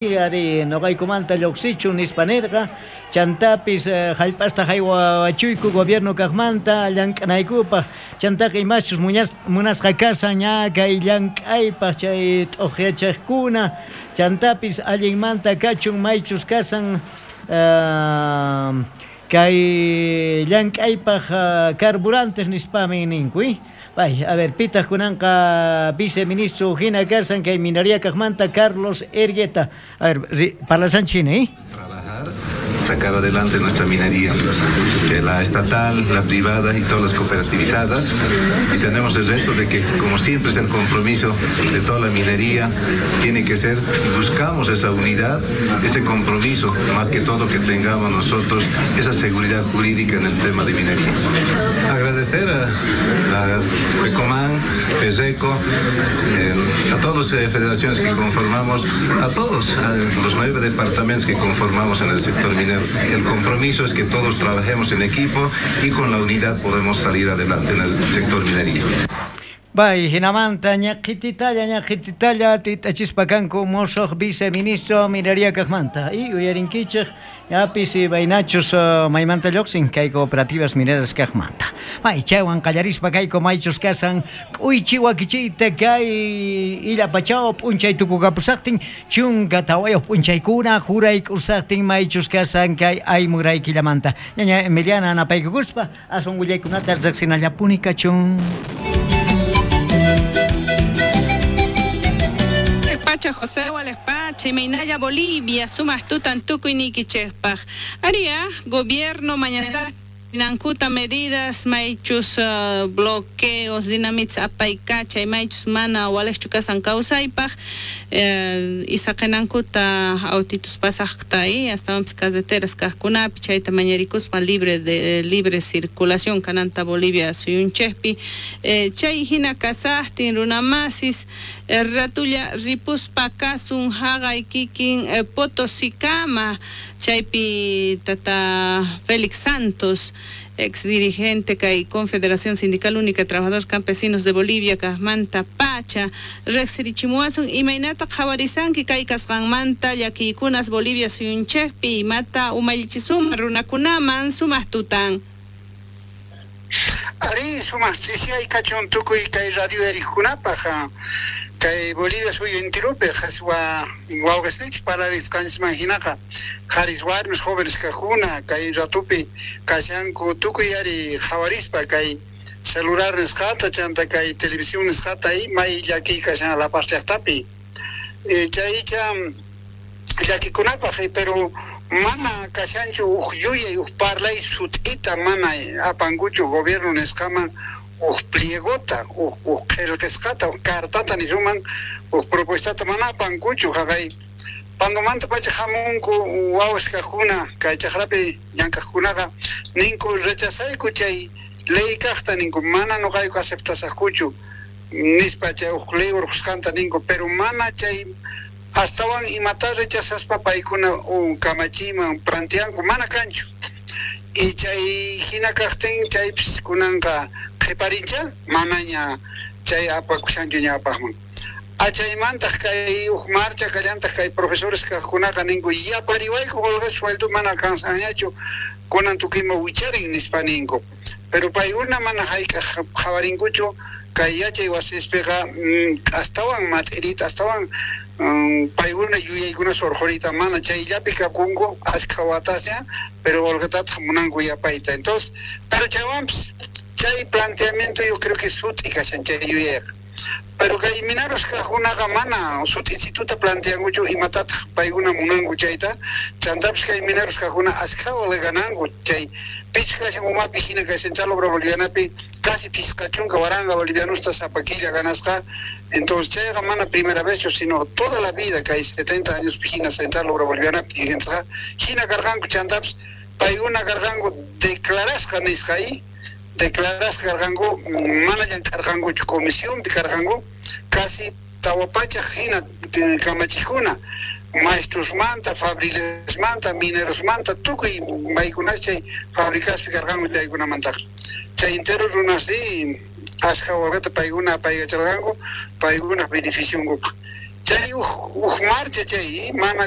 Ari noqaykumanta lluqsichun nispa nirqa, chantapis jallp'asta jaywawachuyku gobierno kaqmanta llank'anaykupaq, chantaqa imaschus munasqa kashan ña kay llank'aypaq chay t'uqyachejkuna, chantapis allinmanta kachun maychus kashan kay llank'aypaq carburantes nispami ninku. Bay, a ver, pitaq kunanqa viceministro hina kashan kay minería kaqmanta Carlos Ergueta. A ver, parlashanchik hina, ¿eh? Trabajar, sacar adelante nuestra minería, de la estatal, la privada y todas las cooperativizadas, y tenemos el reto de que, como siempre es el compromiso de toda la minería, tiene que ser, buscamos esa unidad, ese compromiso, más que todo que tengamos nosotros, esa seguridad jurídica en el tema de minería. Agradecer a la FECOMAN, FESECO, a todas las federaciones que conformamos, a todos, a los 9 departamentos que conformamos en el sector minero. El compromiso es que todos trabajemos en equipo y con la unidad podemos salir adelante en el sector minería. Bay, hinamanta ñaqhititalla titachispa kanku mosoq viceministro minería kaqmanta. Y uyarinkichej yapis baynachus maymanta lluqsin kay cooperativas mineras kaqmanta. Bay, chaywan qallarispa kayku maychus kasan k'uychi wakichiyta kay illapachao p'unchay tukukapusaqtin 14 p'unchaykuna jurayk'usaqtin maychus kasan kay aymurayquillamanta. Ñaña Emiliana napaykukuspa aswan willaykunata riqsinallapuni kachun. Pacha José Walespache, Meinaya Bolivia, sumas tutan tukuy nikichejpaj. Aria, gobierno mañana nankuta medidas, maychus bloqueos, dinamits apaykacha, maychus mana walejchu kasan kawsaypaj, isaqenankuta autitus pasajta y hasta carreteras kajkunapi, chayta mañarikuspa libre circulación kananta Bolivia suyunchejpi, chay hina kasajtin runamasis, ratulla ripuspa kasun haqay kikin Potosikama, chaypi tata Félix Santos, ex dirigente kay Confederación Sindical Única de Trabajadores Campesinos de Bolivia, kajmanta pacha, riqsirichimuwasun imaynata qhawarisanki kay kasqanmanta llakiykunas Bolivia suyunchejpi, imata umallichisuma runakunaman sumaq tutan. Ari sumaq ch'isiyay kachun tukuy kay radio erikkunapaj, kay Bolivia suyu intirupi qhaswa wawqisninchik parlarisqanchisman hinaqa qharis warmis jóvenes kajkuna kay ratupi kashanku tukuy ari qhawarispa kay celular nisqata chanta kay televisión nisqata y may llakiy kashan La Paz llaqtapi. Chaycha llakikunapaj, pero mana kashanchu uj yuyay uj parlay sut'ita mana apankuchu gobierno nisqaman uj pliegota, uj qillqasqata, uj cartata nisuman, uj propuestata mana apankuchu haqay Pandomanta pacha hamunku wawas kajkuna kay chaqrapi llank'aqkunaqa ninku rechazayku chay ley kaqta ninku mana nuqayku aceptasaqkuchu nispa chay uj ley urqusqanta ninku, pero mana chay astawan imata rechazaspa paykuna kamachiyman planteanku mana kanchu. Y chay hina kaqtin chaypis kunanqa qhiparincha manaña chay apakushanchu ñawpaqman. Achaymantaq kay uj marcha kallantaq kay profesores kaqkunaqa ninku yapariwayku qolqe sueldo mana alcanzanñachu kunan tukuyma wicharin nispa ninku. Pero paykuna mana hayk'aq qhawarinkuchu kay yachay wasispiqa astawan mat'irita, astawan paykuna yuyaykuna surqurita mana chayllapi kapunku ashkha watasña, pero qolqetataq munanku yapayta. Entonces, pero chaywanpis chay planteamiento yo creo que sut'i kashan chay yuyayqa. Pero kay mineros kaqkunaqa mana sut'isituta planteankuchu imatataq paykuna munanku chayta, chantapis kay mineros kaqkuna ashkha qolqe gananku chay pichqa kashan umapi hina kay Central Obrera Bolivianapi casi 50 waranqa bolivianusta sapa killa ganasqa. Entonces chayqa mana primera vez, sino toda la vida kay 70 años hina Central Obrera Bolivianapi dirigentesqa hina karqanku, chantapis paykuna karqanku declarasqa nisqa y declarasqa karqanku mana llank'arqankuchu comisionpi karqanku casi 400 hina kamachikuna maestrosmanta, fabrilesmanta, minerosmanta, tukuy maykunas chay fabricaspi karqanku chaykunamantaqa. Chay entero runasri ashkha qolqeta paykuna apaykacharqanku paykunaq beneficionkupaq. Chay uj marcha chay mana.